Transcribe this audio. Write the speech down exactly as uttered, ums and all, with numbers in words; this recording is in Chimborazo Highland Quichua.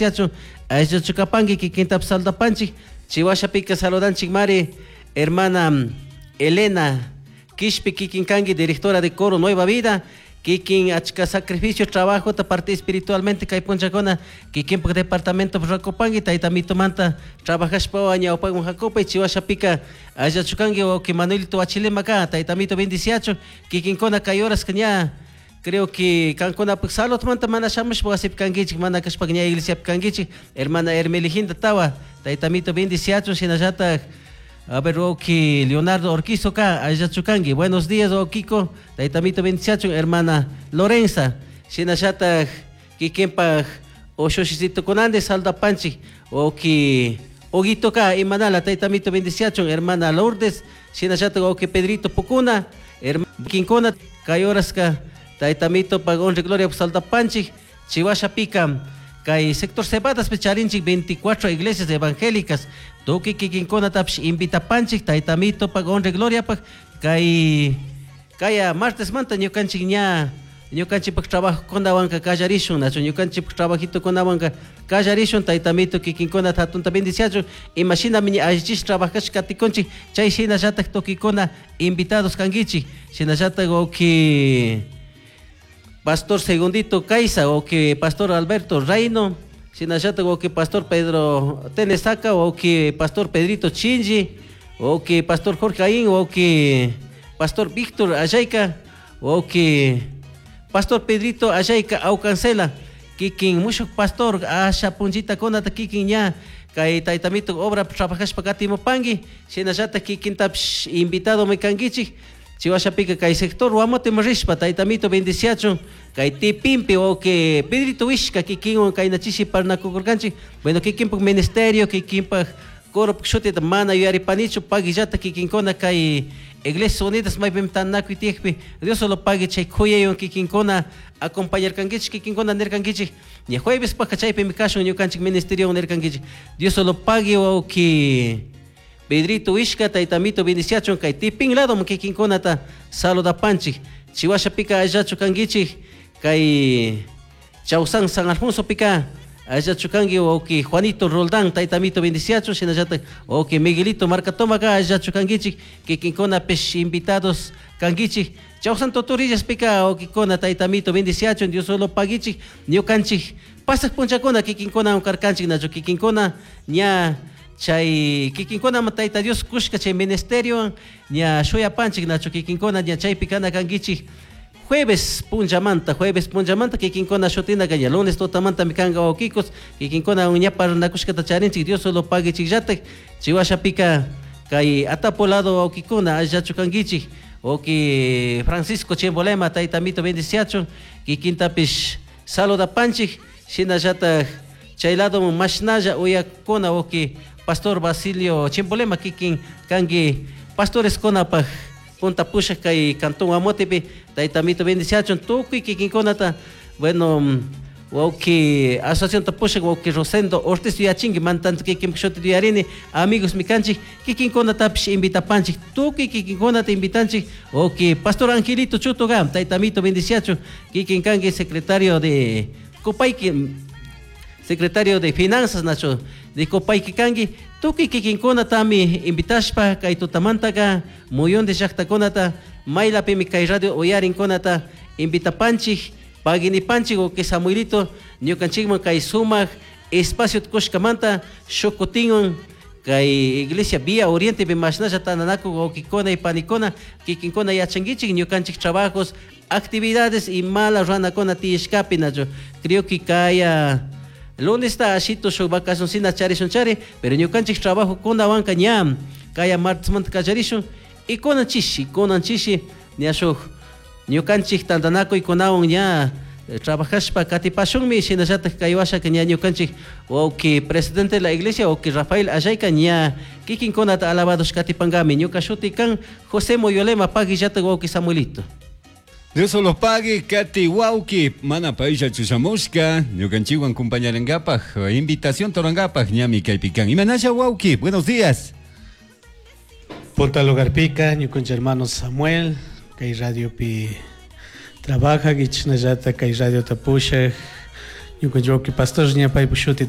bendiciachun, ayllachu kapanki kikintapish saludapanchik. Chihuashapika saludanchik mari hermana Elena Quishpi, kikin kanki directora de coro Nueva Vida, kikin achka sacrificio trabajo ta parte espiritualmente kay punchakuna kikinpak departamento rakupanki tayta mitumanta trabajashpa ñawpakman hakupay. Chihuashapika ayllachu kanki wawki Manuelito Huachilema ka, tayta mito bendiciachun. Kikinkuna kay horas ña creo que kankunapak saludmanta mana shamushpa wasipi kankichik, mana kashpaka ña iglesiapi kankichik. Hermana Hermeliginda Tawa, tayta mito bendiciachun. Shinallatak, a ver, wawki Leonardo Orquizo ka, ayllachu kanki, buenos días wawkiko, tayta mito bendiciachun. Hermana Lorenza, shinallatak kikinpak ushushitukunanti saludapanchik, wawki Huguito ka, imanala, tayta mito bendiciachun. Hermana Lourdes, shinallatak wawki Pedrito Pukuna, kinkuna kay horaska tayta mito pag honra y gloria saludapanchik. Chihuashapika kay sector Cebadas charinchik veinticuatro iglesias evangélicas, tukuy kikinkunatapish invitapanchik tayta mito pag honra y gloria pak kay kaya martes manta ñukanchik ña ñukanchikpak trabajokunawanka kallarishun, nachu ñukanchikpak trabajitokunawanka kallarishun. Tayta mito kikinkunata hatunta bendiciachun. Imashinami ña allichish trabajashka katikunchik, chay shinallatak tukuykuna invitados kankichik. Shinallatak wawki Pastor Segundito Caiza, wawki Pastor Alberto Reino, shinallatak wawki Pastor Pedro Tenesaca, wawki Pastor Pedrito Chinji, wawki Pastor Jorge Aín, wawki Pastor Víctor Ayayka, wawki Pastor Pedrito Ayayka Aucancela, kikin mushuk pastor asha punchitakunata kikin ña kay tayta mito obra trabajashpa katimupanki. Shinallatak kikintapish invitado mi kankichik. Chihuashapika kay sector Guamote rishpa tayta mito bendiciachun. Kay Tipimpi wawki Pedrito Wishka kikinwan kaynachishi parlanakukurkanchik. Bueno, kikinpak ministerio, kikinpak coro shutita mana yuyaripanichu, paguillata kikinkuna kay Iglesias Unidas maypimi tantanakuy tiyakpi, Dios solo pague chay kuyaywan kikinkuna acompañarkankichik, kikinkuna nirkankichik ña jueves paka chaypimi kashun ñukanchik ministeriowan nirkankichik. Dios solo pague wawki Pedrito Wishka, tayta mito bendiciachun. Kay Tipin lado kikinkunata saludapanchik. Chihuashapika ayllachu kankichik kay Chausan San Alfonso pika ayllachu kanki wawki Juanito Roldán, tayta mito bendiciachun. Shinallatak wawki Miguelito Marcatomaka ayllachu kankichik, kikinkunapish invitados kankichik. Chausan Totorillas pika wawkikuna tayta mito bendiciachun, Dios solo paguichik. Ñukanchik pasaq punchakuna kikinkuna karkanchik, nachu kikinkuna ña chay kikinkuna tayta Dios kushka chay ministerio ña shuyapanchik, nachu kikinkuna ña chaypi kana kankichik jueves punchamanta, jueves punchamanta kikinkuna shutina ña lunes tutamanta mi kanka wawkikos kikinkuna ña parlanakushkata charinchik. Dios solo paguichikllatak. Chihuashapika kay Atapo lado wawkikuna ayllachu kankichik, wawki Francisco Chimbolema, tayta mito bendiciachun, kikintapish saludapanchik. Shinallatak chay lado mashnalla uyakuna wawki Pastor Basilio Chimbolema, kikin kanki pastores kunapaj punta pushak kay cantón Guamotepi, tayta mito bendiciachun tukuy kikinkunata. Bueno, wawki asociación tapushak wawki Rosendo Ortiz yuyachinki, man tanto kikinpak shuti yuyarini, amigos mikanchik, kikinkunatapish invitapanchik, tukuy kikinkunata invitanchik. Wawki Pastor Angelito Chutuga, tayta mito bendiciachun, kikin kanki secretario de Copayqui, secretario de Finanzas nacho de Copayqui kanki, tukuy kikinkunatami invitashpa kay tutamantaka muyundi llaqtakunata maylapimi kay radio uyarinkunata invitapanchik. Paguinipanchik wawki Samuelito ñukanchikman kay sumak espacio kushkamanta shukutinwan kay iglesia Vía Oriente pi mashnalla tananakuk wawkikuna y panikuna, kikinkuna yachankichik ñukanchik trabajos, actividades y mala ruranakuna tiyashkapi, nachu creo que kaya lunes ta ashito shuk vacacioncina charishun chari, pero ñukanchik trabajo kunawanka ña kaya martesmanta kallarishun y kunan chishi, kunan chishi ña shuk ñukanchik tantanakuykunawan ña trabajashpa katipashunmi. Shinallatak kay washaka ña ñukanchik wawki presidente de la iglesia wawki Rafael Ayayka ña kikinkunata alabados katipankami. Ñuka shuti kan José Moyolema, paguillatak wawki Samuelito. Dios los pague, Katy wawki, mana paylla chushamushka, ñukanchikwan compañarankapaj, invitación torankapaj, ñami kaypikan. Imanalla wawki, buenos días. Punta lugarpika, ñukanchik hermano Samuel, kay radiopi trabaja, kichnallata kay radiota pushak, ñukanchik wawki pastor ña paypuk shuti.